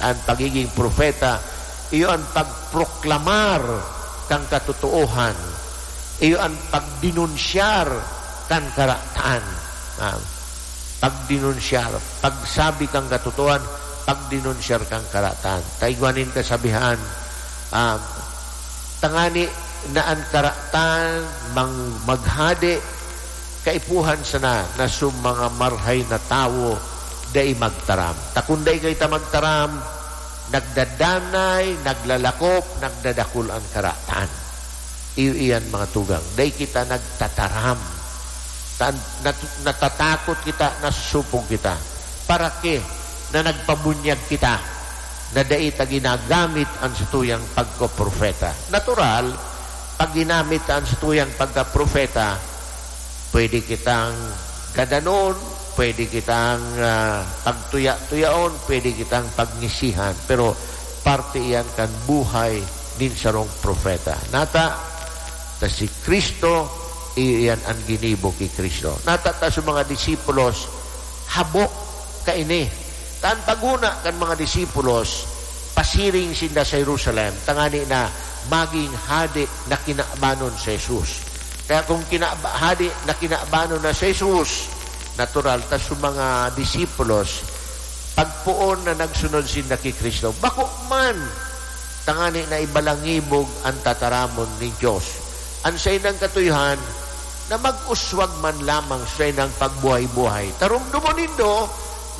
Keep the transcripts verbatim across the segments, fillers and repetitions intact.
An pagiging propeta, iyo an pagproklamar kan katotoohan, iyo an pagdenunsyar kan karatan. Ah, pagdenunsyar, pagsabi kan katotoohan, pagdenunsyar kan karatan. Ta igwa nin kasabihan, ah, tangani na an karatan mang-, maghade, kaipuhan sana na su mga marhay na tawo dai magtaram. Ta kun dai kaita magtaram, nagdadanay, naglalakop, nagdadakul an karatan. Iyo iyan, mga tugang. Dai kita nagtataram. Tan-, nat-, natatakot kita, nasusupog kita. Para ke na nagpabunyag kita na dai ta ginagamit an satuyang pagkapropeta. Natural, pag ginamit ta an satuyang pagkapropeta, pwede kitang gadanon, pwede kitang, ah, pagtuya-tuyaon, pwede kitang pagngisihan. Pero parte iyan kan buhay nin sarong propeta. Nata, ta si Cristo, iyo iyan an ginibo ki Cristo. Nata ta sa mga disipulos, habo kaini. Ta an paghona kan mga disipulos, pasiring sinda sa Jerusalem, tangani na magin hade na kinabanon si Jesus. Kaya kung kinaba-, hade na kinabanon na si Jesus, natural ta sa mga disipulos, pagpoon na nagsunod sinda ki Cristo. Bako man, tangani na ibalangibog an tataramon nin Dios. An saindang katuyohan na mag-uswag man lamang sa saindang pagbuhay-buhay. Tarumdomon nindo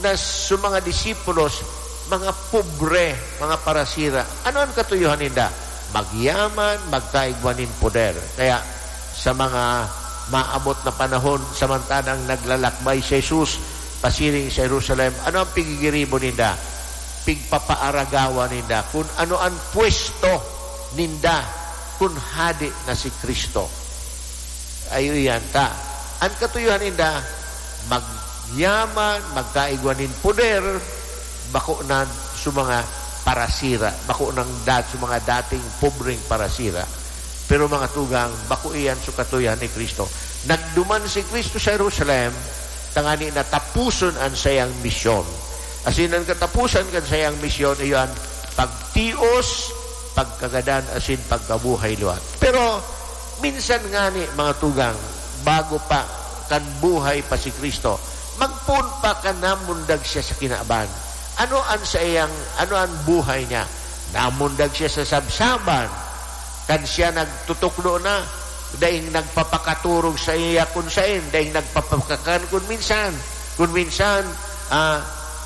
na sa mga disipulos, mga pobre, mga parasira. Ano an katuyohan ninda? Magyaman, magkaigwa nin poder. Kaya sa mga maabot na panahon, samantalang naglalakbay si Jesus pasiring sa Jerusalem, ano ang pigigiribo ninda? Pigpapaaragawan ninda kun ano an pwesto ninda kun hade na si Cristo. Ayo iyan ta. An katuyohan ninda, magyaman, magkaigwa nin poder, bako na sa mga parasira, bako nang dat-, sa mga dating pobreng parasira. Pero mga tugang, bako iyan sa katuyohan ni Cristo. Nagduman si Cristo sa Jerusalem, tangani na tapuson an sayang misyon. Asin an katapusan kan sayang misyon, iyo an pagtios, pagkagadan, asin pagkabuhay liwat. Pero minsan ngani, mga tugang, bago pa, kan buhay pa si Cristo, magpoon pa kan namundag siya sa kinaban. Ano an saiyang, ano an buhay niya? Namundag siya sa sabsaban. Kan siya nagtutukdo na, daing nagpapakaturog saiya kun saen, daing nagpapakakan kun minsan. Kun minsan, ah,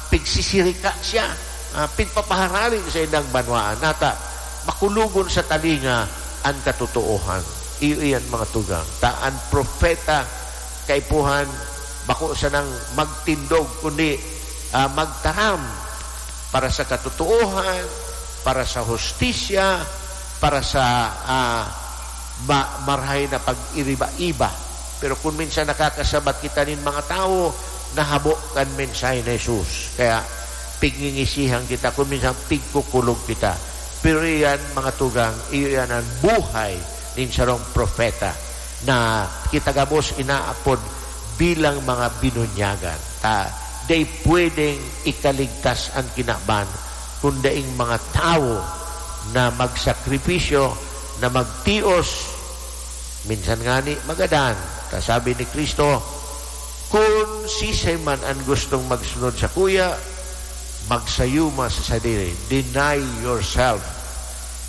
pigsisirika siya, ah, pigpapaharali sa indang banwaan. Nata, makulogon sa talinga an katotoohan. Iyo iyan, mga tugang. Ta an propeta, kaipuhan, bako sanang magtindog, kundi, ah, magtaram para sa katotoohan, para sa hustisya, para sa, ah, ma-, marahay na pag-iriba-iba. Pero kun minsan nakakasabat kita nin mga tawo na habo kan mensahe ni Jesus. Kaya pigngingisihan kita, kun minsan pigkukulog kita. Pero iyan, mga tugang, iyo iyan an buhay nin sarong propeta na kita gabos inaapod bilang mga binunyagan. Ta, dai pwedeng ikaligtas an kinaban kun daing mga tawo na magsakripisyo, na magtios, minsan ngani magadan. Ta sabi ni Cristo, "Kun siisay man an gustong magsunod sakuya, magsayuma sa sadiri." Deny yourself.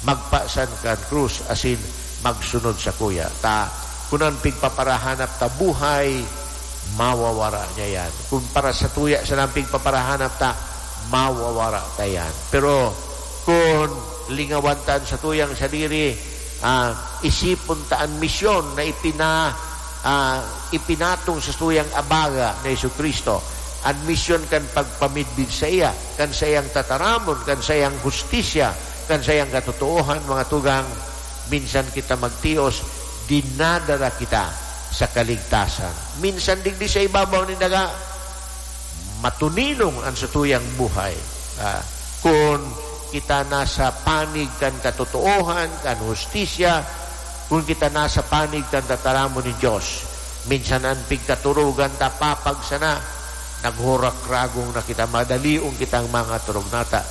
Magpasan kan krus asin magsunod sakuya. Ta, kun an pigpaparahanap ta buhay, mawawara niya yan. Kun para satuya sana an pigpaparahanap ta, mawawara ta yan. Pero kun lingawan ta an satuyang sadiri, ah, isipon ta an misyon na ipina-, ah, ipinatong sa satuyang abaga na Jesu-Cristo, an misyon kan pagpamidbid saiya, kan saiyang tataramon, kan saiyang hustisya, kan saiyang katotoohan, mga tugang, minsan kita magtios, dinadara kita sa kaligtasan. Minsan digdi sa ibabaw nin daga, matuninong an satuyang buhay. Ah, kun kita nasa panig kan katotoohan, kan hustisya, kun kita nasa panig kan tataramon nin Dios, minsan an pigkaturugan ta papag sana, naghurakragong na kita, madalion kitang mangaturog nata.